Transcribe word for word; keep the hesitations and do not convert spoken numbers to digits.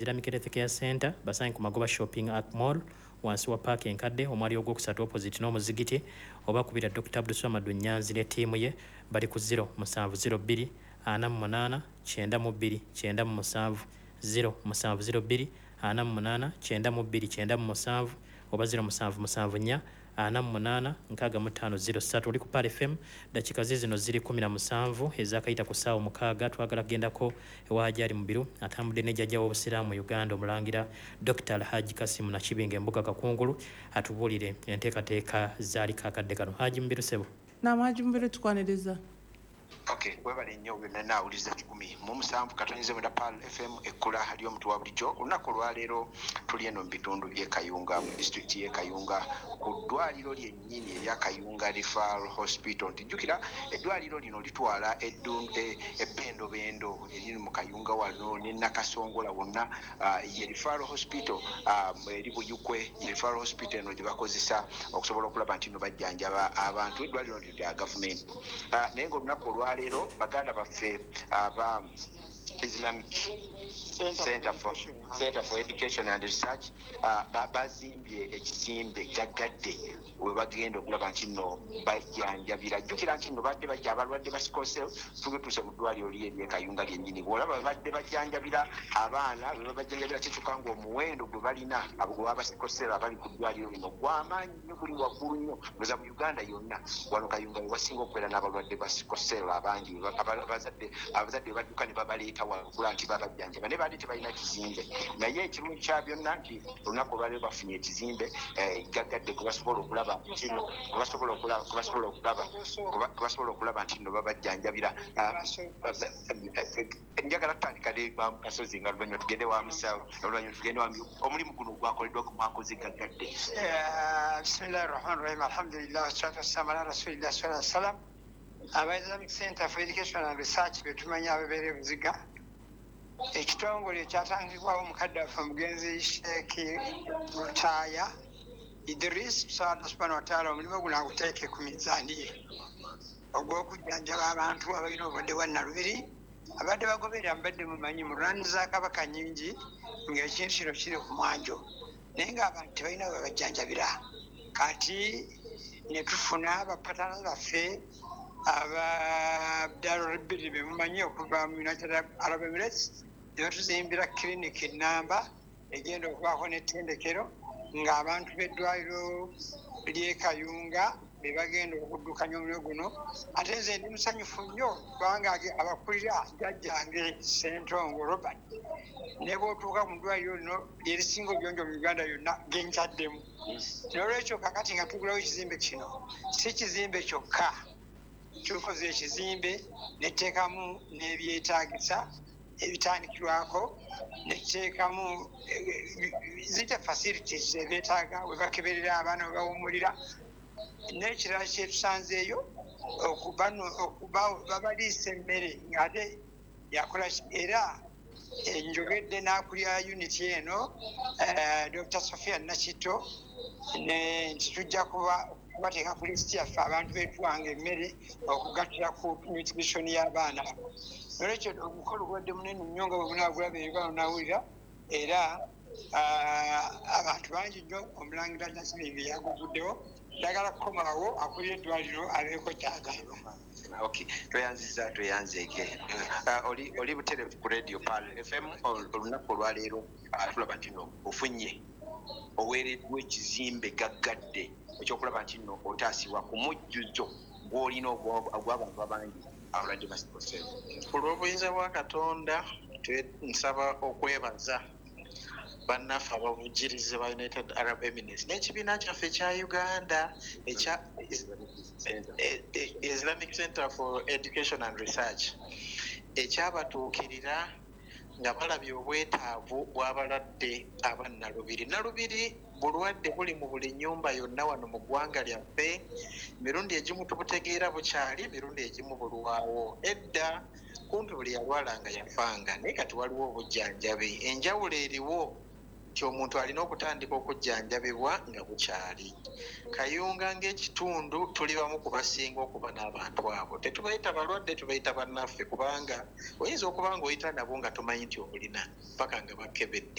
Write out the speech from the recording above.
Islamic Health Care Center basange ku Magoba Shopping Ark Mall, wansi wa paaka enkadde, omwali ogwokusatu, opposite n'omuzigiti, oba kubira Doctor Abdulswamad Nyanzi ne ttiimu ye, bali ku zero musanvu zero bbiri ana mu munaana kyenda mu bbiri kyenda mu musanvu, zero musanvu zero bbiri ana mu munaana kyenda mu bbiri kyenda mu musanvu, oba zero musanvu musanvu nnya ana mu munaana nkaaga mu ttaano zero ssatu. Oli ku Pearl F M. Dakiika ze zino ziri kumi na musanvu ezakayita ku ssaawa mukaaga. Twagala kugendako ewa Hajji Mubiru, atambudde ne jjajja w'obusiraamu mu Uganda, omulangira Doctor Alhaji Kasimu Nakibinga Embuga Kakungulu, atubuulire enteekateeka zaaliko akadde kano. Haji Mubiru, sebo. Naam, Haji Mubiru, tukwaniriza. Okay, webale nnyo byonna. Naawuliza kikumi mu musanvu katonyeze mwenda, Pearl F M, ekkula ly'omuntu wa bulijjo. Olunaku olwaleero tuli eno mu bitundu by'e Kayunga, mu disitulikiti y'e Kayunga, ku ddwaliro lyennyini erya Kayunga Referral Hospital. Nti jjukira eddwaliro lino litwala e, ebbendobendo eriri mu Kayunga wano ne Nakasongola wonna. ah, ye Referral Hospital ah, eri Buyukwe. Ye Referral Hospital eno gye bakozesa okusobola okulaba nti no bajjanjaba abantu. Eddwaliro lino lya gavumenti. Ah, naye ngaolunaku olwaleero baganda baffe aba Islamic Center for, Center for Education and Research uh, bazimbye ekizimbe gaggadde we bagenda okulaba nti nno bajjanjabira. Jjukira nti nno badde bajja abalwadde ba sickle cell. Tugetuuse mu ddwaliro li eryekayunga lyennyini. Bwolaba badde bajjanjabira abaana, bwe babajjanjabira kikyuka nga omuwendo gwe balina gwaba sickle cell abali ku ddwaliro lino gwamaanyi nnyo, guli waggulu nnyo oza mu Uganda yonna. Wano Kayunga we wasinga okubeera n'abalwadde ba sickle cell abangi. abazadde abazadde badduka ne babaleeta wano okula nti babajjanjaba, naye baadde tebalina kizimbe. Naye ekirungi kya byonna nti olunaku olwaleero bafunye ekizimbe eh, gaggadde kwe basobola okulaba kino kwe basobola okulaba kwe basobola okulaba kwe basobola okulaba nti nno babajjanjabira. Ah, eh, njagala tutandika ne Kasozi, nga oluvannyuma tugende wa musawo, oluvannyuma tugende wa omulimu guno gwakoleddwa ku mwakoze gaggadde. Bismillahi rahmani rahim, alhamdulillah, wassalatu wassalamu ala rasulillah sallallahu alaihi wasallam. Aba Islamic Center for Education and Research betumanyi ababeera ebuziga, ekitongole ekyatandikibwawo mukadde waffe omugenzi Sheeki Lutaaya Idris, tusaba Allah subhanahu wataala omulimu guno aguteeke ku mizaani ye, ogw'okujjanjaba abantu abalina obulwadde bwa nalubiri. Abadde bagoberera mubadde mumanyi mu rwani za Kabaka nyingi ng'ekintu kino kiri ku mwanjo, naye ng'abantu tebalina we babajjanjabira. Kati ne tufuna ba partners baffe aba Darul be mumanyi okuva mu United Arab Emirates, ne batuzimbira clinic enamba egenda okubaako n'ettendekero, ng'abantu b'eddwaliro ly'e Kayunga be bagenda okuddukanya omulimu guno. Ate nze ndi musanyufu nnyo kubanga abakulira jjajjange Sentongo Robert, ne bw'otuuka mu ddwaliro lino lyerisinga obuyonjo mu Uganda yonna genkyaddemu. N'olwekyo kakati nga tugulawo ekizimbe kino, si kizimbe kyokka, tukoze ekizimbe netuteekamu n'ebyetaagisa ebitandikirwako, netuteekamu zite facilities ebyetaaga we bakeberera abaana, we bawumulira. N'ekirala kyetusanzeeyo, babaliisa emmere ng'ate yakola. Era njogedde n'akulira unit eno, Doctor Sophia Nakito, nti tujja kuba kubateeka ku lisiti yaffe abantu betuwanga emmere okugattira ku nutrition y'abaana. Nolwekyo omukolo gwadde munene nnyo nga bwe munaagulaba Uganda onawulira, era abantu bangi nnyo. Omulangira Nakibinge yaguguddewo. Njagala kukomawo akulira eddwaliro abeeko kyagamba. Okay, tweyanziza, tweyanzeeke. uh, oli oli butereevu ku Radio Pearl F M. Olunaku olwaleero uh, tulaba nti no ofunye, oweereddwa ekizimbe gaggadde ekyokulaba nti nno otaasibwa ku mujjuzo gw'olina ogw'abantu abangi abalwadde ba sickle cell. Olw'obuyinza bwa Katonda, nsaba okwebaza bannaffe abavujjirizi ba United Arab Emirates n'ekibiina kyaffe ekya Uganda ekya Islamic Center for Education and Research, ekyabatuukirira nga balabye obwetaavu bw'abalwadde abannalubiri. Nalubiri bulwadde buli mu buli nnyumba yonna wano mu ggwanga lyaffe. Emirundi egimu tubutegeera bukyali, emirundi egimu bulwawo. Edda kumpi buli yalwalanga yafanga, naye kati waliwo obujjanjabi. Enjawulo eriwo nti Nti omuntu alina okutandika okujjanjabibwa nga bukyali. Kayunga ng'ekitundu tuli bamu ku basinga okuba n'abantu abo. Tetubayita balwadde, tubayita bannaffe, kubanga oyinza okuba ng'oyita nabo nga tomanyi nti obulina paka nga bakebedde.